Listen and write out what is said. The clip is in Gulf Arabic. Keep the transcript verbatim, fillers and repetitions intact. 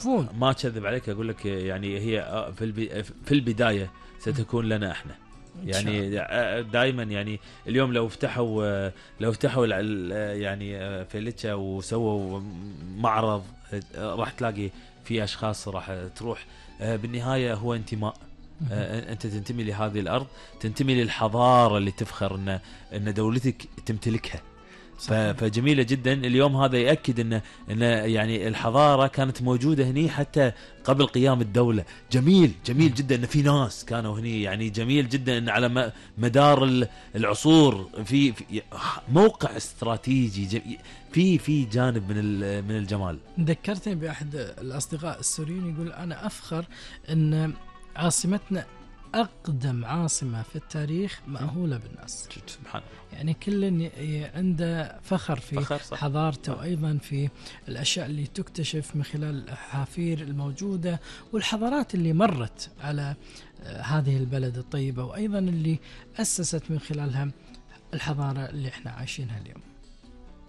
فون. ما أكذب عليك أقول لك يعني هي في الب- في البداية ستكون لنا إحنا يعني دائما يعني اليوم لو فتحوا لو فتحوا يعني فيلتشا وسووا معرض راح تلاقي في أشخاص راح تروح. بالنهاية هو انتماء، أنت تنتمي لهذه الأرض، تنتمي للحضارة اللي تفخر إن إن دولتك تمتلكها. فجميلة جدا. اليوم هذا يأكد إن إن يعني الحضارة كانت موجودة هني حتى قبل قيام الدولة. جميل جميل جدا إن في ناس كانوا هني، يعني جميل جدا إن على مدار العصور في موقع استراتيجي في في جانب من من الجمال. ذكرتني بأحد الأصدقاء السوريين يقول أنا أفخر إن عاصمتنا أقدم عاصمة في التاريخ مأهولة بالناس. سبحان الله. يعني كل عنده فخر في فخر حضارته، وأيضا في الأشياء اللي تكتشف من خلال الحافير الموجودة والحضارات اللي مرت على هذه البلد الطيبة، وأيضا اللي أسست من خلالها الحضارة اللي احنا عايشينها اليوم.